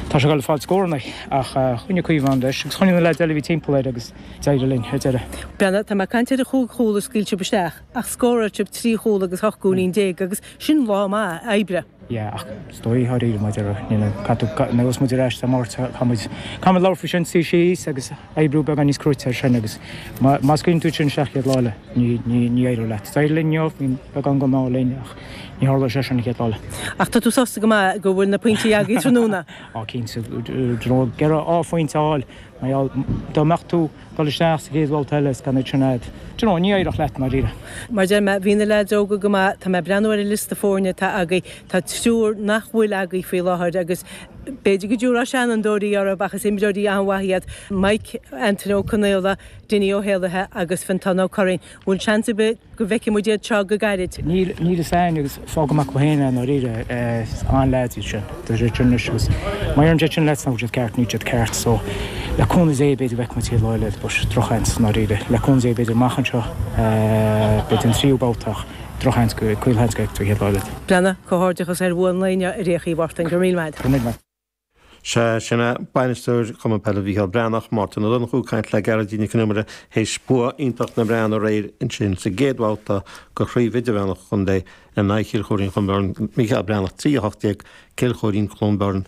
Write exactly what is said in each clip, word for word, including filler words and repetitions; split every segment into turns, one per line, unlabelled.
Tá sé ag fáil scóranna ach choinnigh Caoimhe an leis agus choinnigh na leaids eile bhí timpeall air agus d'éirigh linn ar deireadh.
Breathnaigh, tá mé ag caint ar an chúig chúl a scaoil sibh isteach ach scóráil sibh trí chúl agus ocht gcúilín déag agus sin lá maith oibre.
Yeah, ach is dóigh tháiríre mar ní caithfidh muid ar ais Dé Máirt caithfimid caithfimid labhairt faoi sin suí síos agus oibriú beagán níos cruaite ar sin agus má scaoileann tú sin isteach chéad lá eile ní ní ní éireoidh leat. D'éirigh linn inniu, bhí beagán go maith linn ach ní tharla sé sin an chéad lá eile.
Ach tá tú sásta go maith go bhfuil na pointí agaibh tráthnóna.
Á cinnte gearra á phointe a fháil mar dá mbeadh tú dul isteach sa chéad bhabhta eile is gan iad sin agat. Do you know, ní éireodh leat mar ríre.
Mar deir mé bhí na leaids óga go maith tá mé breathnú ar an liosta foirne atá agaibh tá triúr nach bhfuil agaibh faoi láthair agus b'fhéidir go dtabharfá seanfhondúirí orthu ach is imreoirí an-mhaith iad Mike Anthony Ó Conaola, Dinny Ó Héalaithe agus Fintán Ó Curraoin. Bhfuil seans ar bith go bhfeicfidh muid iad seo go gairid.
Níl níl fhios againn agus fág amach go féin nó ríre an-leaids iad sin Tá sé sin agus má deireann siad sin leat nach siad ceart níl siad ceart so le cúnamh Dé b'fhéidir bheith muid lá eile but drochsheans ná ríre le cúnamh Dé b'fhéidir amach anseo b'fhéidir an tríú babhta ach drochsheans go caolsheans go bhfeicfidh chéad lá eile.
Breathnaigh comhghairdeachas ar bhua an lae inniu ar Uí Mhártain go míle maith.
Go míle maith.
Se sinna bainisteoir Chumann Peile Mhícheál Breathnach Máirtín Ó Donnchú caint le Gearóidín Nic Con Iomaire théis bua iontach na mBreathnach aréir ansin sa gcéad bhabhta de chraobh idirmheánach chontae in aghaidh Chill Choirín Chluain Bheirn Mícheál Breathnach trí a hocht déag Cill Choirín Cluain Bheirn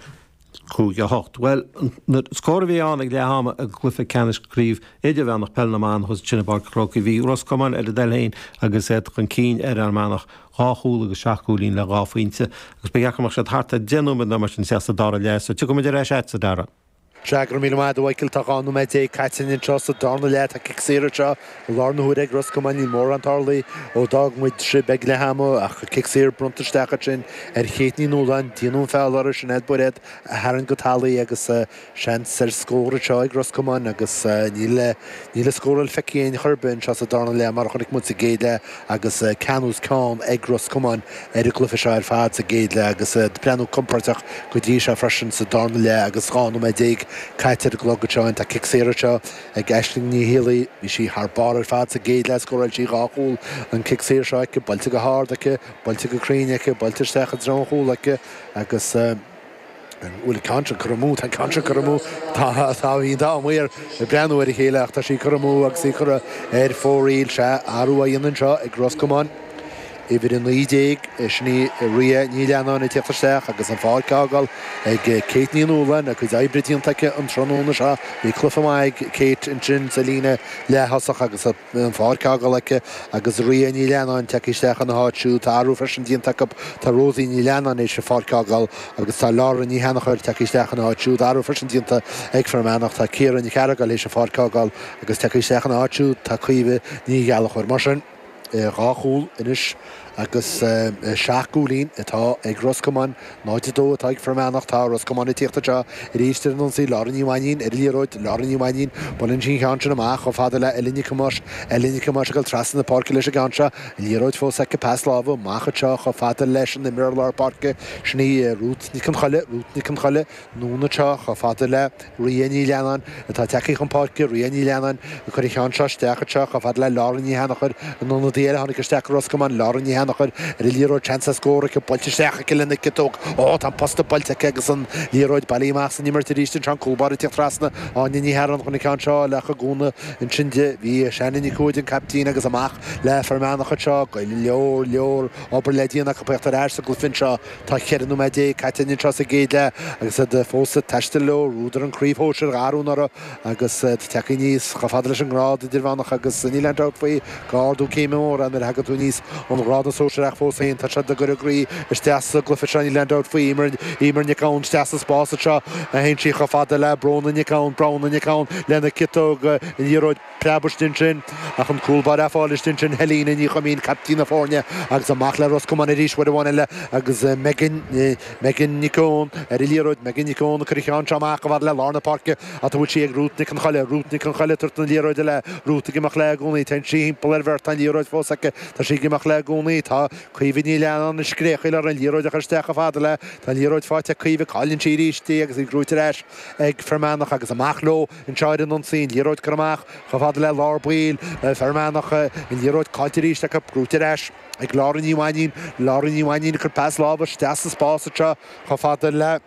cúig a hocht. Well na scór a bhí ann ag leath ama i gcluiche ceannais craobh idirmheánach peile na mban thuas ansin i bPáirc an Chrócaigh bhí Ros Comáin ar a dtoil féin agus iad chun cinn ar Fhear Manach dhá chúl agus seacht gcúilín le dhá phointe agus ba dheacair siad thart ar deich nóiméad nó mar sin sa dara leath so tiocfaimid ar ais agat a Dara.
Se go míle maith Mhichael tá dhá nóiméad déag caite anseo sa darna leath tá cic saor seo i lár na huaire ag Ros Comáin níl mórán tarlaithe ó d'fhág muid sibh ag leath ama ach cic saor bronnta isteach sin ar Chéit Ní Nualláin déanamh an feall ar sin Bairéad a tharraing go talamh agus seans ar scór seo ag Ros Comáin agus níl níl a scóráil feicthe aon chor ar bith anseo sa darna leath mar chonaic muid sa gcéad leath agus ceannús ceann ag Ros Comáin ar an gcluiche seo ar fad sa gcéad leath agus breathnú compordach go dtí seo freisin sa darna leath agus dhá nóiméad déag caite ar an gclog seo tá cic saor seo ag Aisling Ní Héalaí bhí sí thar barr ar fad sa gcéad leath scóráil sí dhá chúl an cic saor seo aici buailte go hard aici buailte go cruinn aici buailte isteach i dtreo an chúil aici agus bhfuil ceann curtha amú tá ceann curtha amú tá tá bhí dá muir breathnú ar a chéile ach tá sí curtha amú agus í curtha ar fóraoil sé athrú á dhéanamh anseo ag Ros Comáin. Uimhir a naoi déag sin í Ria Ní Leannáin ag teacht isteach agus an pháirc á fhágáil ag Kate Ní Nualláin a cuid oibre déanta aici an tráthnóna seo bhí cluiche maith ag Kate ansin sa líne leath-thosach agus an pháirc á fhágáil aici agus Ria Ní Leannáin tagtha isteach ina háit siúd tá athrú freisin déanta acu tá Rosie Ní Leannáin théis an pháirc á fhágáil agus tá Laura Ní Sheanchair tagtha isteach ina háit siúd athrú freisin déanta ag Fear Manach tá Ciara Ní Chearagail théis an pháirc á fhágáil agus tagtha isteach ina háit siúd tá Caoimhe Ní Ghealachóir mar sin. dhá chúl anois agus seacht gcúilín atá ag Ros Comáin náid dó atá ag Fear Manach tá Ros Comáin ag tíocht seo arís ar an ionsaí Laura Ní Mhainín ar liathróid Laura Ní Mhainín buaileann sí an ceann sin amach chomh fada le Ellie Nic Thomáis Ellie Nic Thomáis ag dul trasna na páirce leis an gceann seo liathróid fós aici pas láimhe amach seo chomh fada leis an imreoir lár páirce sin í Ruth Nic an Choille Ruth Nic an Choille anonn seo chomh fada le Ria Ní Leannáin atá tagtha chun páirce Ria Ní Leannáin ag cur an cheann seo isteach seo chomh fada le Laura Ní Sheanchair an ionadaí eile tháinig isteach Ros Comáin Laura Ní Sheanchair ar an liathróid seans scór aici buailte isteach aici lena ciotóg ó tá posta buailte aici agus an liathróid bailithe amach san imirt arís an cúl báire ag tíocht trasna Áine Ní Hearáin chun an ceann seo le chugúna ansin di bhí Shannon Ní Cuaid an captaen agus amach le Fear Manach seo go leor leor obair le déanamh acu ar ais sa gcluiche seo tá ceithre nóiméad déag caite anseo sa gcéad leath agus iad fós ag taisteal leo rúdar an chraobh shóisir arúnara agus tagtha aníos chomh fada leis an ngrád idirmheánach agus níl aon dabht faoi gur ardú céime mór nuair a thagann tú aníos ón ghrád sóisearach fós féin tá siad ag cur a gcroí isteach sa gcluiche seo níl aon dabht faoi Emer Emer Nic Gabhann isteach sa spás seo a théann sí chomh fada le Bróna Nic Gabhann Bróna Nic Gabhann lena ciotóg an liathróid preabadh sin ach an cúl báire fáil sin Helena Ní Choimín captaen na foirne agus amach le Ros Comáin arís uair amháin eile agus Megan Megan Nic Eoin ar an liathróid Megan Nic Eoin cur cheann seo amach go le lár na páirce a bhfuil sí ag Ruth Nic an Choille Ruth Nic an Choille tabhairt an liathróid le Ruth ag imeacht léi i gcónaí Tá sí timpeall ar bheirt an liathróid fós aici Tá sí ag imeacht léi i gcónaí tá Caoimhe Ní Leannáin ag scréachaíl ar an liathróid a chur isteach chomh fada le Tá liathróid faighte Caoimhe cailleann sí arís agus í gnóthaithe ar ais ag Fear Manach agus amach leo anseo ar an ionsaí an liathróid curtha amach chomh fada le lár baill Fear Manach an liathróid caillte arís acu gnóthaithe ar ais ag Laura Ní Mhainín Laura Ní Mhainín chur pas láimhe isteach sa spás seo chomh fada le